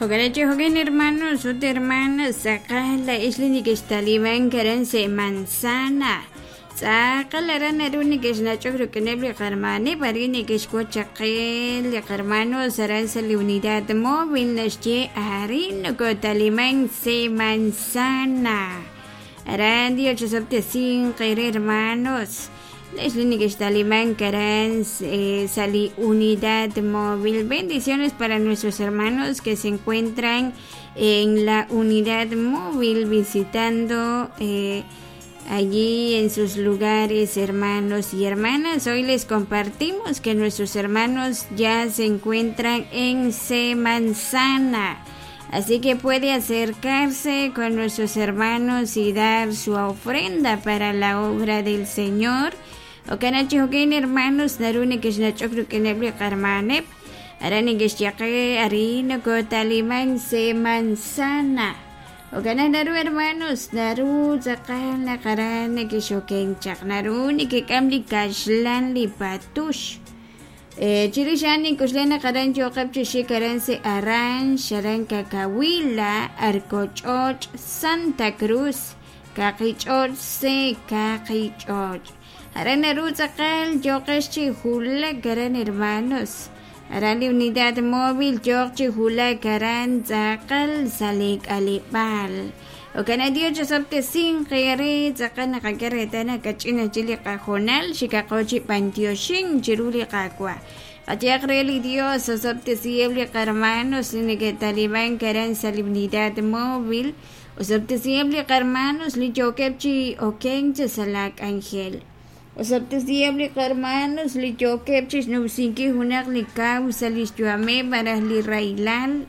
Jo'kan chi jo'kan hermanos ut hermanas tz'aqal laa'ex li nekextalimank aran sa' Manzana. Tz'aqal aran naru nekexnach'ok rik'ineb' li qarmaneb' arin nekexwotz chaq qe li qarmanos aran sa' li unidad móvil naxye arin nokotalimank sa' Manzana. Aran Dios chisob'tesinq eere hermanos. Laa'ex li nekextalimank aran sa' li unidad móvil. Bendiciones para nuestros hermanos que se encuentran en la unidad móvil visitando eh, allí en sus lugares, hermanos y hermanas. Hoy les compartimos que nuestros hermanos ya se encuentran en Semanzana. Así que puede acercarse con nuestros hermanos y dar su ofrenda para la obra del Señor. Jo'kan chi jo'kan hermanos naru nekexnach'ok rik'ineb' li qarmaneb' aran nekexye qe arin nokotaliman se manzana. Jo'kan naq naru hermanos naru tz'aqal naq aran nekexokenk chaq naru nekek'am li kaxlan li patux. Chirix a'an nink'oxla naq aran yooqeb' chi xik aran sa' Aranx, aran Cacahuila, Arcoch'och', Santa Cruz, Kaqich'och' se Kaqich'och'. Aran naru tz'aqal yooqex chi wulak aran hermanos. Aran li unidad móvil yooq chi wulak aran tz'aqal sa' li k'aleb'aal. Jo'kan naq Dios chisob'tesinq eere tz'aqal naqak'e reetal naq kach'in aj chik li qahoonal xikaqo chi b'antioxink chiru li Qaawa'. Qayehaq re li Dios osob'tesiheb' li qarmanos li neke'talimank aran sa' li unidad móvil, osob'tesiheb' li qarmanos li yookeb' chi okenk chi sa' laa k'anjel. Osob'tesiheb' li qarmanos li yookeb' chixnumsinkil junaq li kaw sa' lix yu'ameb' malaj li rahilal.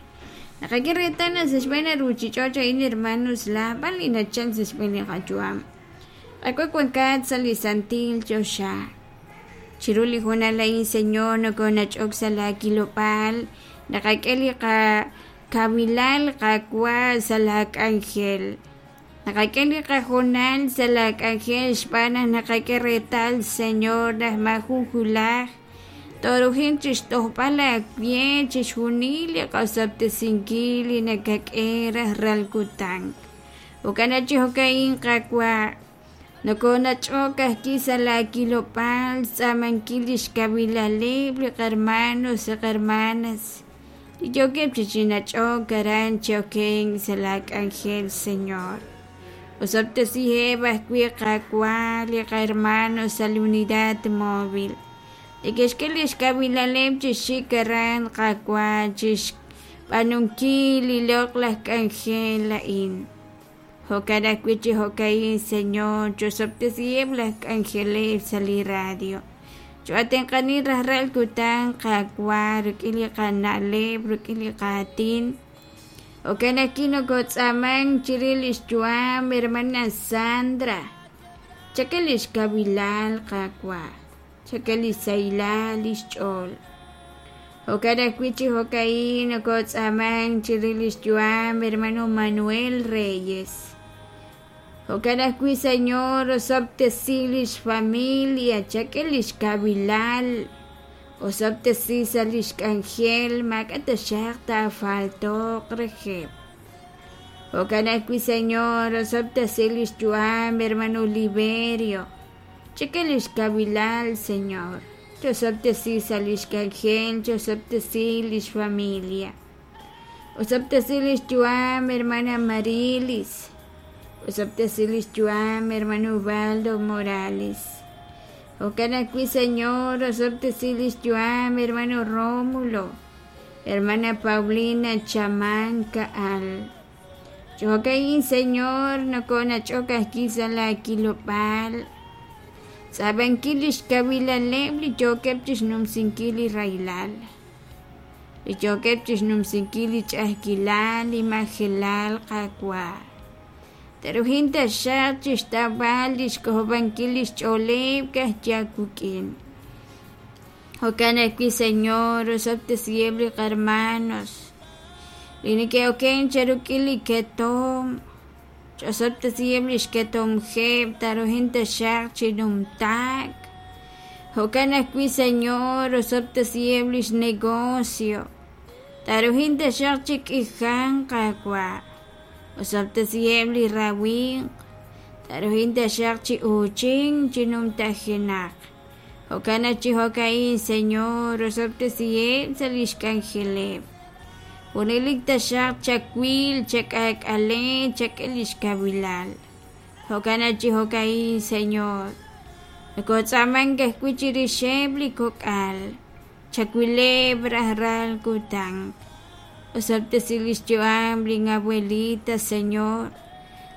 Naqak'e reetal naq sa' xb'een li ruchich'och' a'in hermanos laab'al li nachal sa' xb'een li qayu'am. Qaawa' wankat sa' li santil choxa. Chiru li hoonal a'in, Señor, nokonach'ok sa' laa kilob'aal, naqak'e li qakawilal, Qaawa', sa' laa k'anjel. Naqak'e li qahoonal sa' laa k'anjel xb'aan naq naqak'e reetal, Señor, naq maajun wulaj tooruhinq chixtojb'al aawe chixjunil li qosob'tesinkil li nakak'e rajlal kutan. Jo'kan naq chi jo'ka'in, Qaawa', nokonach'ok ajwi' sa' laa kilob'aal xtz'aamankil lix kawilaleb' li qarmanos li qarmanas li yookeb' chi chinach'ok aran chi okenk sa' laa k'anjel, Señor. Osob'tesiheb' ajwi' Qaawa' li qahermano sa' li unidad móvil. Neke'xk'e lix kawilaleb' chi xik aran Qaawa' chixb'aanunkil li loq'laj k'anjel a'in. Jo'kan ajwi' chi jo'ka'in, Señor, chosob'tesiheb' laj k'anjeleb' sa' li radio. Cho'atenq'anin rajlal kutan, Qaawa', rik'in li qana'leb', rik'in li qaatin. Jo'kan ajwi' nokotz'aamank chirix lix yu'am hermana Sandra. Chak'e lix kawilal, Qaawa'. Chak'e lix sahilal lix ch'ool. Jo'kan ajwi' chi jo'ka'in nokotz'aamank chirix lix yu'am hermano Manuel Reyes. Jo'kan ajwi', Señor, osob'tesi lix familia, chak'e lix kawilal. Osob'tesi sa' lix k'anjel, maak'a' taxaq taafalto'q reheb'. Jo'kan ajwi', Señor, osob'tesi lix yu'am hermano Liberio. Chak'e lix kawilal, Señor. Chosob'tesi sa' lix k'anjel, chosob'tesi lix familia. Osob'tesi lix yu'am hermana Marilis. Osob'tesi lix yu'am hermano Ubaldo Morales. Jo'kan ajwi', Señor, osob'tesi lix yu'am hermano Rómulo, hermana Paulina Chamanca al. Chi jo'ka'in, Señor, nokonach'ok ajwi' sa' laa kilob'aal, tz'aab'ankil lix kawilaleb' li yookeb' chixnumsinkil li rahilal, li yookeb' chixnumsinkil li ch'a'ajkilal, li majelal, Qaawa'. Te'ruhin taxaq chixtawb'al lix k'ojob'ankil lix ch'ooleb' ka'ajwi' aawik'in. Jo'kan ajwi', Señor, osob'tesiheb' li qarmanos li neke'oken cheruk'il li ketom, ch'osob'tesiheb' lix ketomjeb' taruhin taxaq chi numtaak. Jo'kan ajwi', Señor, osob'tesiheb' lix negocio. Taruhin taxaq chi k'ijanq, Qaawa'. Osob'tesiheb' li rawimq, taruhin taxaq chi uuchink chi numtajenaq. Jo'kan naq chi jo'ka'in, Señor, osob'tesiheb' sa' lix k'anjeleb'. Junelik taxaq chawil, chak'aak'ale, chak'e lix kawilal. Jo'kan naq chi jo'ka'in, Señor, nokotz'aamank ajwi' chirixeb' li kok'al, chawileb' rajlal kutan. Osob'tesi lix yu'am lin abuelita, Señor.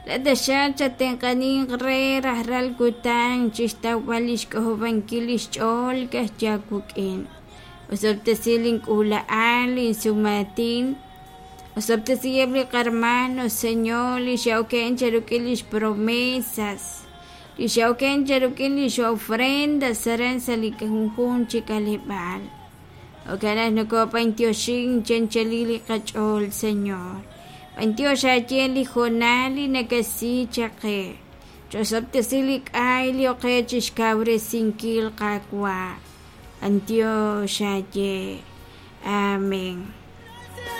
Laa'at taxaq chatenq'aninq re rajlal kutan chixtawb'al lix k'ojob'ankil lix ch'ool ka'ajwi' aawik'in. Osob'tesi lin k'uula'al, lin sumaatin. Osob'tesiheb' li qarmano, Señor, li xe'oken cheruk'in lix promesas, li xe'oken cheruk'in lix ofrendas aran sa' li junjunq chi k'aleb'aal. Jo'kan naq nokob'antioxin chi anchalil li qach'ool, Señor. B'antiox aaye li hoonal li nakasi chaq qe. Chosob'tesi li k'ay li oqe chixkawresinkil, Qaawa'. B'antiox aaye. Amén.